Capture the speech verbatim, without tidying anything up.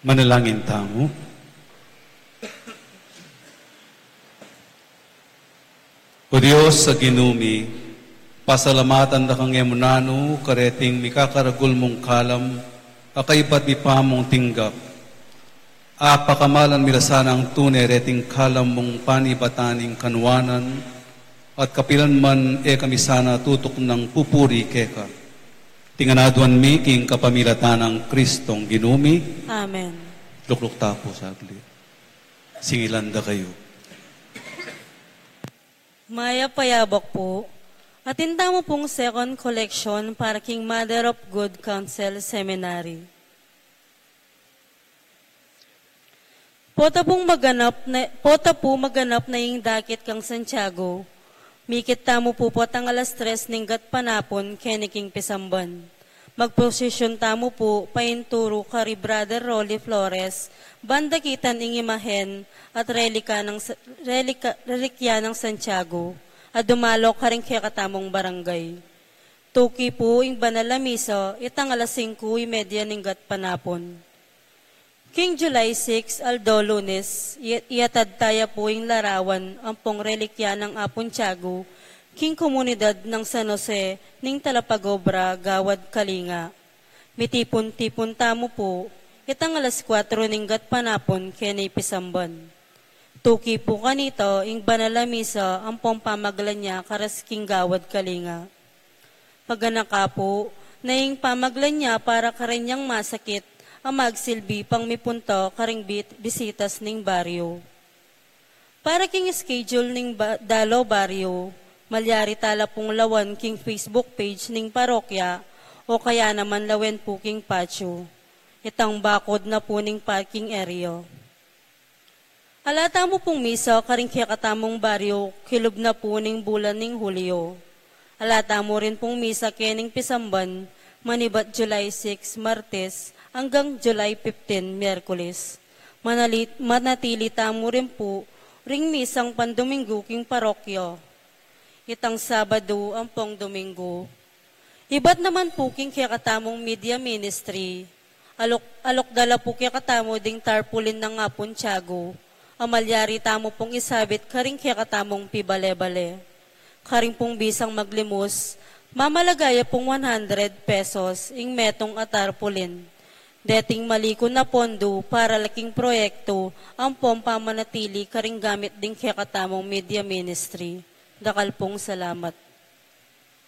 Manalangin tamu. O Dios a Ginu mi, pasalamatan da ka ngan mu nanu kareting mikakaragul mung kalam a kaybat mi pa mung tinggap. Apakamalan mi la sanang tune reting kalam mung panibatan ning kanuanan, at kapilan man e kami sana tutuknang pupuri keka. Iti ngan aduan mi king kapamilatan nang Kristong Ginu mi. Amen. Lukluk ta pu saglit. Singilan da kayu. Mayap a yabak pu. Atin tamu pung second collection para king Mother of Good Counsel Seminary. Pota pung maganap na, pota pu maganap na ing dakit kang Santiago. Mikit tamu pu potang alas tres ning gatpanapun keni king pisamban. Magprosesyon tamu pu painturu kari Brother Rolly Flores, ban dakitan ing imahen at relika nang Sa-, relika, relikya nang Santiago a dumalo karing kekatamung barangay. Tuki pu ing banal a misa itang alas singku y media ning gatpanapun. King July six, aldo Lunes, i-, iatad taya pu ing larawan ampong relikya nang Apung Tiago king komunidad nang San Jose ning Talapagobra, Gawad Kalinga. Mitipun-tipun tamu pu itang alas kuatro ning gatpanapun keni pisamban. Tuki pu kanita ing banal a misa ampong pamagla nia karas king Gawad Kalinga. Paganaka pu na ing pamagla nia para karenyang masakit a magsilbi pang mipunta karing bi-, bisitas ning baryo. Para king schedule ning ba-, dalo baryo, malyari tala pung lawan king Facebook page ning parokya o kaya naman lawen pu king patio. Itang bakod na pu ning parking area. Ala tamu pung misa karing kekatamung baryo kilub na pu ning bulan ning Hulyo. Ala tamu rin pung misa kening pisamban manibat July six, Martes, anggang July fifteen, Miyerkules. Manali-, manatili tamu rin pu ring misang pandominggu king parokya. Itang Sabadu ampong Dominggu. Ibat naman pu king kekatamung media ministry. Alok, alok da la pu kekatamu ding tarpaulin nang Apung Tiago a malyari tamu pung isabit karing kekatamung pibale-bale. Karing pung bisang maglimus, mamalaga ya pung one hundred pesos ing metung a tarpaulin. Deting malikun a pondo para la king proyektu ampong pamanatili karing gamit ding kekatamung media ministry. Dakal pung salamat.